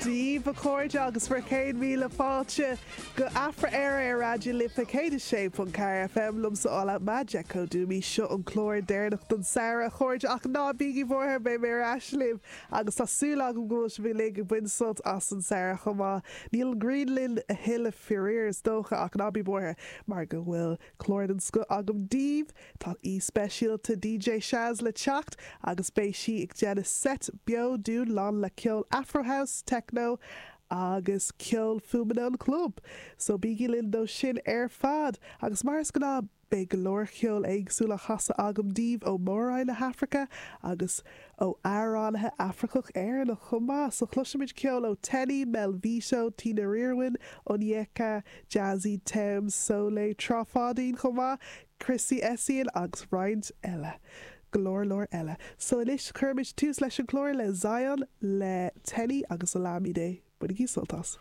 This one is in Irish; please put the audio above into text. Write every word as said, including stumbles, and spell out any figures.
Daoibh a chairde agus bhur gcéad míle fáilte go Afra Éire ar Raidió na Life céad a sé ponc ceathair FM liomsa Ola Magic Dúmí seo an clár deireanach don samhradh a chairde ach ná bígí buartha beidh mé ar ais libh agus tá súil agam go bhfuil sibh uilig ag baint sult as an samhradh chomh maith. Níl an ghrian linn a thuilleadh faraor is dócha ach ná bí buartha mar go bhfuil clár den scoth agam daoibh Tá aoi speisialta DJ Shaz le teacht agus beidh sí ag déanamh set beo dúinn lán le ceol Afrohouse, techno agus ceol fuaimeanna an chlub. So bígí linn dó sin ar fad agus mar is gnáth beidh go leor ceol éagsúil á chasadh agam daoibh ó Mhór-Roinn na hAfraice agus ó amhránaithe Afracach Éireannach chomh maith, so cloisfimid ceol ó Teni, Melvito, Tina Riorwin, Onyeka, Jazzy Thames, Soleil, Trá Pháidín chomh maith, Chrissy Essien agus roinnt eile. Go leor leor eile. So anois cuirfimid tús leis an chlár le Zion le Teni agus Olamide. Bainigí sult as.